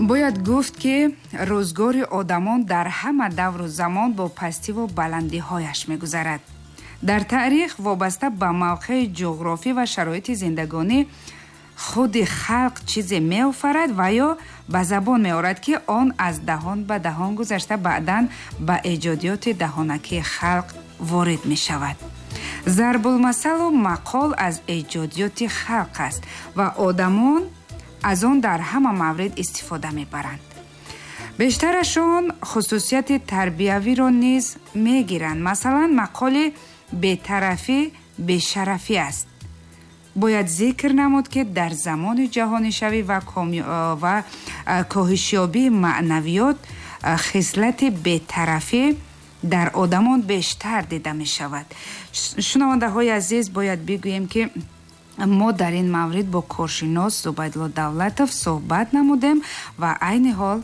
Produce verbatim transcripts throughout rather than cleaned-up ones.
Бояд гуфт, ки рӯзгори одамон дар ҳама давру замон бо пастиву баландиҳояш мегузарад. Дар таърих вобаста ба мавқеи ҷуғрофӣ ва шароити зиндагонӣ худи халқ чизе меофарад ва ё ба забон меорад, ки он аз даҳон ба даҳон гузашта баъдан ба эҷодиёти даҳонакии халқ ворид мешавад. Зарбулмасалу мақол аз эҷодиёти халқ аст ва одамон аз он дар ҳама маврид истифода мебаранд. Бештарашон хусусияти тарбиявиро низ мегиранд. Масалан, мақоли бетарафӣ бешарафӣ аст. Бояд зикр намуд, ки дар замони ҷаҳонишавӣ ва ва коҳишёбии маънавиёт хислати бетарафӣ дар одамон бештар дида мешавад. Шунавандаҳои азиз, бояд бигӯем, ки мо дар ин маврид бо коршинос Зубайдулло Давлатов суҳбат намудем ва айни ҳол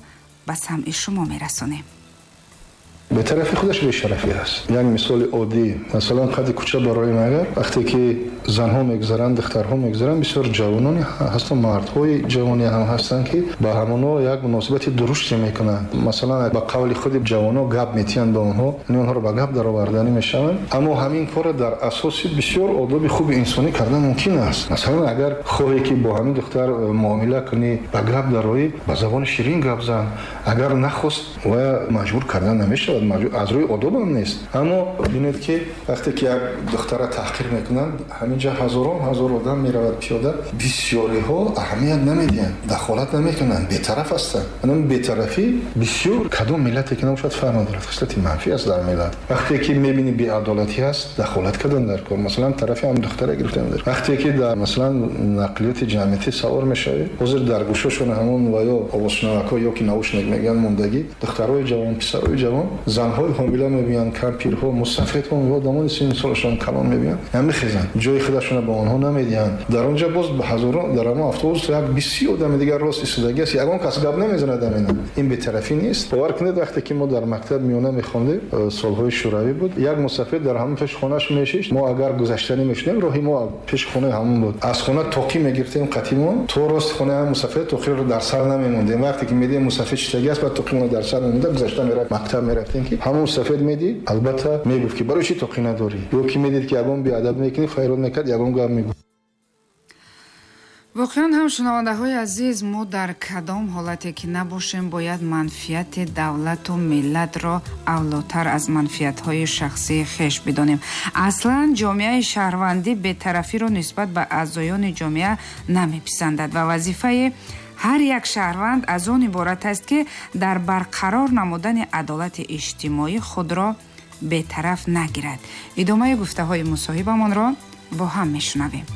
ба самъи шумо мерасонем. Бетарафӣ худаш бешарафӣ аст. Як мисоли оддӣ, масалан, қади кӯча барои агар вақте ки занҳо мегузаранд, духтарҳо мегузаранд, бисёр ҷавононе ҳастанд, мардҳои ҷавоне ҳам ҳастанд, ки ба ҳамонҳо як муносибати дуруште мекунанд. Масалан, ба қавли худи ҷавонҳо гап метиҳанд ба онҳо, яъне онҳоро ба гап дароварданӣ мешаванд. Аммо ҳамин корро дар асоси бисёр одоби хуби инсонӣ кардан мумкин аст. Масалан, агар хоҳӣ, ки бо ҳамин духтар муомила кунӣ, ба гап дароӣ, ба забони ширин гап зан. Агар нахост, ва маҷбур кардан намешавад, аз рӯи одобам нест. Аммо бинед, ки вақте ки як духтара таҳқир мекунанд, ҳаминҷа ҳазорон ҳазор одам меравад пиёда, бисёриҳо аҳамият намедиҳанд, дахолат намекунанд, бетараф ҳастанд. Анам бетарафӣ бисёр кадом миллате ки набошад, фарқ надорад, хислати манфӣ аст дар миллат. Вақте ки мебинӣ беадолатӣ ҳаст, дахолат кардан дар кор, масалан, тарафи ҳам духтара гирифтан дар. Вақте ки дар, масалан, нақлиёти ҷамъиятӣ савор мешавӣ, ҳозир дар гӯшашон ҳамон ва ё овозшунавакҳо ё ки наушник мегӯянд мондагӣ, духтарои ҷавон, писарои ҷавон, занҳои ҳомила мебиёнд, кампирҳо, мусафедҳо, одамони синну солашон калон мебиёнд, намехезанд, ҷои худашонро ба онҳо намедиҳанд. Дар он ҷо боз ҳазорон, дар ҳамон автобус як бисёр одами дигар рост истодагӣ аст, ягон кас гап намезанад. Амина ин бетарафӣ нест? Бовар кунед, вақте ки мо дар мактаб миёна мехондем, солҳои шӯравӣ буд, як мусафед дар ҳамон пеши хонааш мешишт. Мо агар гузаштанӣ мешудем, роҳи мо пеши хонаи ҳамон буд. Аз хона тоқӣ мегирифтем қатимон то рости хонаи ҳамон мусафед, тоқиро дар сар намемондем. Вақте ки медидем мусафед чистагӣ аст, баъд тоқимонро дар сар мемонда, гузашта мерафт, мактаб мерафтем, ки ҳамон мусафед медид, албатта мегуфт, ки барои чӣ тоқӣ надорӣ, ё ки медид, ки ягон беадаб мекунӣ, файрод мекард, ягон гап мегуфт. Воқеан ҳам, шунавандаҳои азиз, мо дар кадом ҳолате ки набошем, бояд манфиати давлату миллатро авлотар аз манфиатҳои шахсии хеш бидонем. Аслан ҷомеаи шаҳрвандӣ бетарафиро нисбат ба аъзоёни ҷомеа намеписандад ва вазифаи ҳар як шаҳрванд аз он иборат аст, ки дар барқарор намудани адолати иҷтимоӣ худро бетараф нагирад. Идомаи гуфтаҳои мусоҳибамонро бо ҳам мешунавем.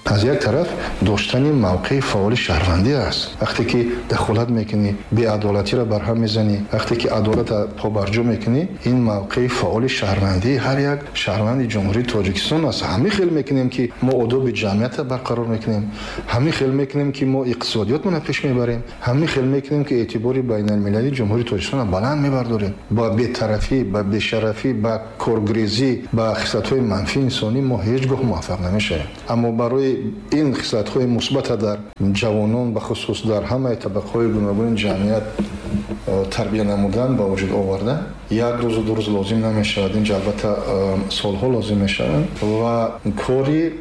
Аз як тараф, доштани мавқеи фаъоли шаҳрвандӣ аст. Вақте ки дахолат мекунӣ, беадолатиро барҳам мезанӣ, вақте ки адолатро побарҷо мекунӣ, ин мавқеи фаъоли шаҳрвандии ҳар як шаҳрванди Ҷумҳурии Тоҷикистон аст. Ҳамин хел мекунем, ки мо одоби ҷамъиятро барқарор мекунем, ҳамин хел мекунем, ки мо иқтисодиётмонро пеш мебарем, ҳамин хел мекунем, ки эътибори байналмилалии Ҷумҳурии Тоҷикистонро баланд мебардорем. Ба бетарафӣ, ба бешарафӣ, ба коргрезӣ, ба хислатҳои манфии инсонӣ мо ҳеҷ гоҳ муваффақ намешавем. Аммо барои ин хислатҳои мусбата дар ҷавонон, бахусус дар ҳамаи табақаҳои гуногуни ҷамъият тарбия намудан, ба вуҷуд овардан, як рӯзу ду рӯз лозим намешавад. Инҷа албатта солҳо лозим мешаванд ва кори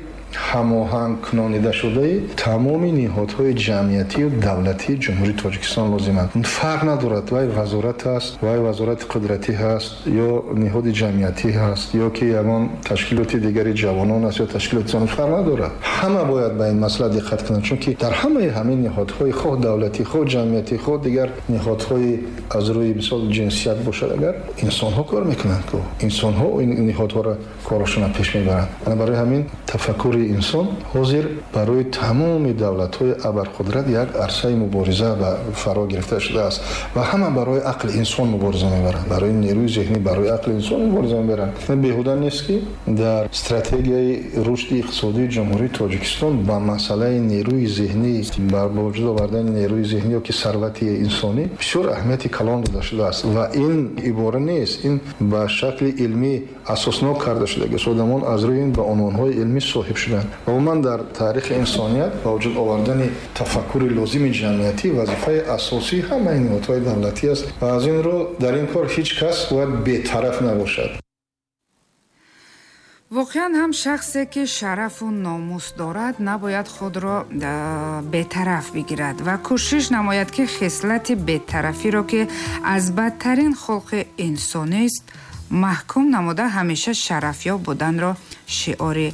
ҳамоҳангкунонидашудаи тамоми ниҳодҳои ҷамъиятию давлатии Ҷумҳурии Тоҷикистон лозиманд. Фарқ надорад, вай вазорат аст, вай вазорати қудратӣ ҳаст, ё ниҳоди ҷамъиятӣ ҳаст, ё ки ягон ташкилоти дигари ҷавонон аст, ё ташкилоти занон, фарқ надорад. Ҳама бояд ба ин масъала диққат кунанд, чунки дар ҳамаи ҳамин ниҳодҳои хоҳ давлатӣ, хоҳ ҷамъиятӣ, хоҳ дигар ниҳодҳои аз рӯи мисол ҷинсият бошад, агар инсонҳо кор мекунанд, ку инсонҳо ин ниҳодҳоро корашонро пеш мебаранд. Ана барои ҳамин тафаккури инсон ҳозир барои тамоми давлатҳои абарқудрат як арсаи мубориза ба фаро гирифта шудааст ва ҳама барои ақли инсон мубориза мебаранд, барои нерӯи зеҳнӣ, барои ақли инсон мубориза мебаранд. Беҳуда нест, ки дар стратегияи рушди иқтисодии Ҷумҳурии Тоҷикистон ба масъалаи нерӯи зеҳнӣ, ба вуҷуд овардани нерӯи зеҳнӣ ё ки сарвати инсонӣ бисёр аҳамияти калон дода шудааст. Ва ин ибора нест, ин ба шакли илмӣ асоснок карда шудагист. Одамон аз рӯи ин ба унвонҳои илмӣ соҳиб шуда. шуданд. Ва умуман дар таърихи инсоният ба вуҷуд овардани тафаккури лозими ҷамъиятӣ вазифаи асосии ҳамаи ниҳодҳои давлатӣ аст ва аз ин рӯ дар ин кор ҳеҷ кас бояд бетараф набошад. Воқеан ҳам шахсе ки шарафу номус дорад, набояд худро бетараф бигирад ва кӯшиш намояд, ки хислати бетарафиро, ки аз бадтарин хулқи инсонист, маҳкум намуда ҳамеша шарафёб буданро шиори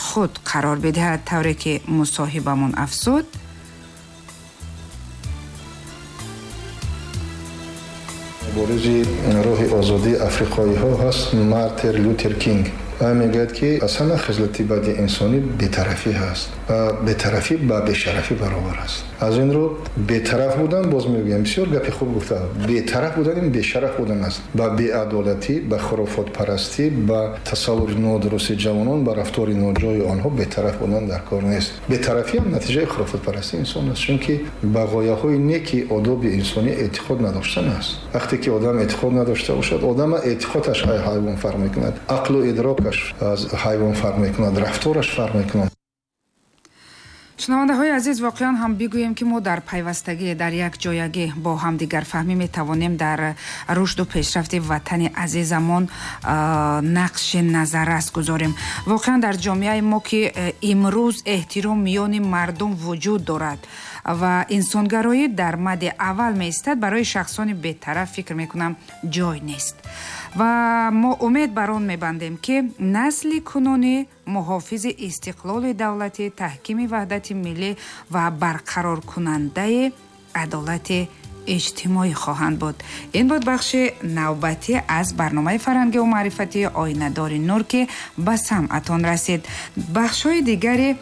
худ қарор бидиҳад. Тавре ки мусоҳибамон афзуд, муборизи роҳи озодии африқоиҳо ҳаст Мартин Лютер Кинг. Ва мегӯяд, ки аз ҳама хислати бади инсонӣ бетарафӣ ҳаст ва бетарафӣ ба бешарафӣ баробар аст. Аз ин рӯ бетараф будан, боз мегӯям, бисёр гапи хуб гуфта, бетараф будан ин бешараф будан аст. Ба беадолатӣ, ба хурофотпарастӣ, ба тасаввури нодурусти ҷавонон, ба рафтори ноҷои онҳо бетараф будан дар кор нест. Бетарафӣ ҳам натиҷаи хурофотпарастии инсон аст, чунки ба ғояҳои неки одоби инсонӣ эътиқод надоштан аст. Вақте ки одам эътиқод надошта бошад, одама эътиқодаш аз ҳайвон фарқ мекунад, ақлу идрокаш аз ҳайвон фарқ мекунад, рафтораш фарқ мекунад. Шунавандаҳои азиз, воқеан ҳам бигӯем, ки мо дар пайвастагӣ, дар як ҷоягӣ бо ҳамдигарфаҳмӣ метавонем дар рушду пешрафти ватани азизамон нақши назаррас гузорем. Воқеан дар ҷомеаи мо, ки имрӯз эҳтиром миёни мардум вуҷуд дорад ва инсонгароӣ дар мади аввал меистад, барои шахсони бетараф фикр мекунам ҷой нест. Ва мо умед бар он мебандем, ки насли кунунӣ муҳофизи истиқлоли давлатӣ, таҳкими ваҳдати миллӣ ва барқароркунандаи адолати иҷтимоӣ хоҳанд буд. Ин буд бахши навбатӣ аз барномаи фарҳангию маърифатии Оинадори нур, ки ба самъатон расид. Бахшҳои дигари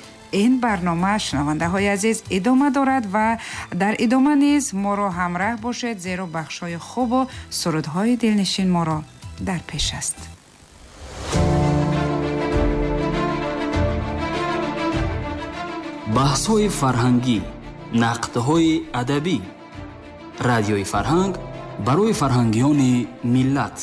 ин барнома, шунавандаҳои азиз, идома дорад ва дар идома низ моро ҳамроҳ бошед, зеро бахшҳои хубу сурудҳои дилнишин моро дар пеш аст. Баҳсҳои фарҳангӣ, нақдҳои адабӣ. Радиои фарҳанг барои фарҳангиёни миллат.